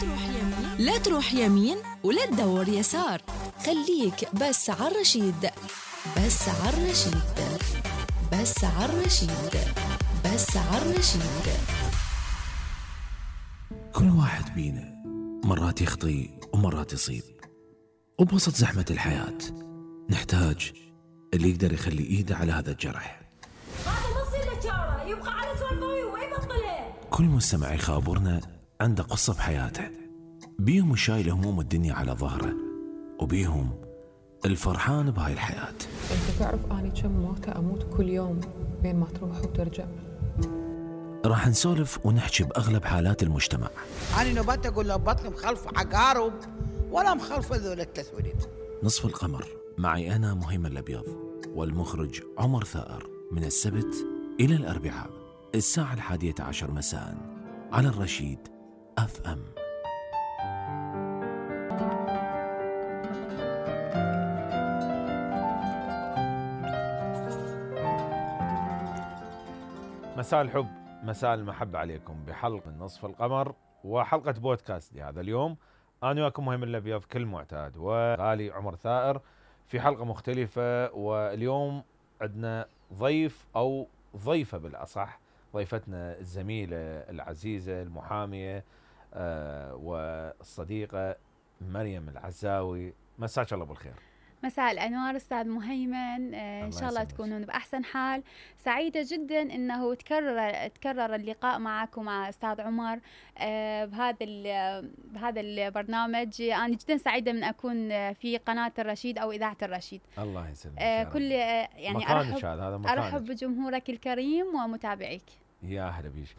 تروح يمين لا تروح يمين ولا تدور يسار، خليك بس على الرشيد. بس على الرشيد، بس على الرشيد، بس على الرشيد. كل واحد بينا مرات يخطي ومرات يصيب، وبوسط زحمة الحياة نحتاج اللي يقدر يخلي ايده على هذا الجرح. هذا نص الاشاره يبقى على سوالفه ويبطلها. كل مستمع يخابرنا عنده قصة بحياته، بيهم الشايل هموم الدنيا على ظهره، وبيهم الفرحان بهاي الحياة. انت تعرف اني كم موتة اموت كل يوم بين ما تروح وترجع. راح نسولف ونحكي بأغلب حالات المجتمع. أنا نبات أقول له بطني مخلف عقارب ولا مخلف ذول التسويلات. نصف القمر معي أنا مهيمن الأبيض والمخرج عمر ثائر، من السبت إلى الأربعاء الساعة 11 مساء على الرشيد FM. مساء الحب، مساء المحبة عليكم بحلقة نصف القمر وحلقة بودكاست لهذا اليوم. أنا وياكم مهيمن الأبيض كل معتاد، وغالي عمر ثائر في حلقة مختلفة. واليوم عندنا ضيف أو ضيفة بالأصح، ضيفتنا الزميلة العزيزة المحامية والصديقة مريم العزاوي. مساك الله بالخير. مساء الأنوار أستاذ مهيمن، إن شاء الله تكونون بأحسن حال. سعيدة جدا أنه تكرر اللقاء معك ومع أستاذ عمر بهذا البرنامج. أنا جدا سعيدة من أكون في قناة الرشيد أو إذاعة الرشيد. الله يسلمك. كل يعني أرحب بجمهورك الكريم ومتابعيك. يا أهلا بيك.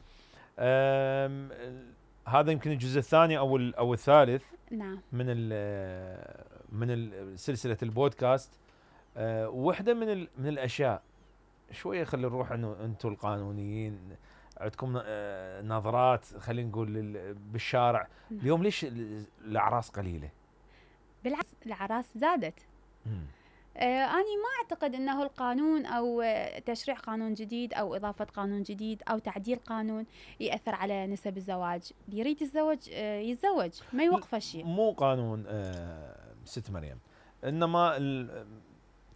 هذا يمكن الجزء الثاني أو الثالث. نعم. من سلسلة البودكاست. واحدة من الأشياء شوية خلي نروح إنه أنتم القانونيين عندكم نظرات، خلينا نقول بالشارع. اليوم ليش الأعراس قليلة؟ بالعكس الأعراس زادت. أنا ما أعتقد أنه القانون أو تشريع قانون جديد أو إضافة قانون جديد أو تعديل قانون يأثر على نسب الزواج. اللي يريد يتزوج يتزوج، ما يوقف شيء. مو قانون ست مريم، إنما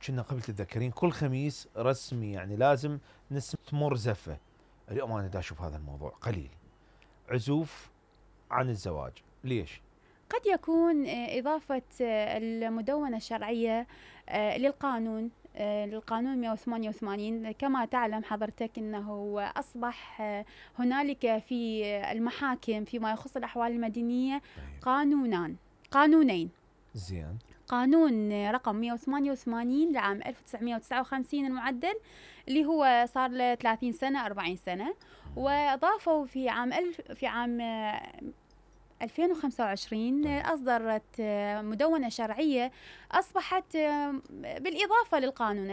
كنا قبل تتذكرين كل خميس رسمي يعني لازم تمر زفة. اليوم أنا دا أشوف هذا الموضوع قليل، عزوف عن الزواج. ليش؟ قد يكون إضافة المدونة الشرعية للقانون 188. كما تعلم حضرتك أنه أصبح هنالك في المحاكم فيما يخص الأحوال المدنية قانونين. زين. قانون رقم 188 لعام 1959 المعدل، اللي هو صار له 30 سنة 40 سنة، وأضافوا في عام 2025 أصدرت مدونة شرعية أصبحت بالإضافة للقانون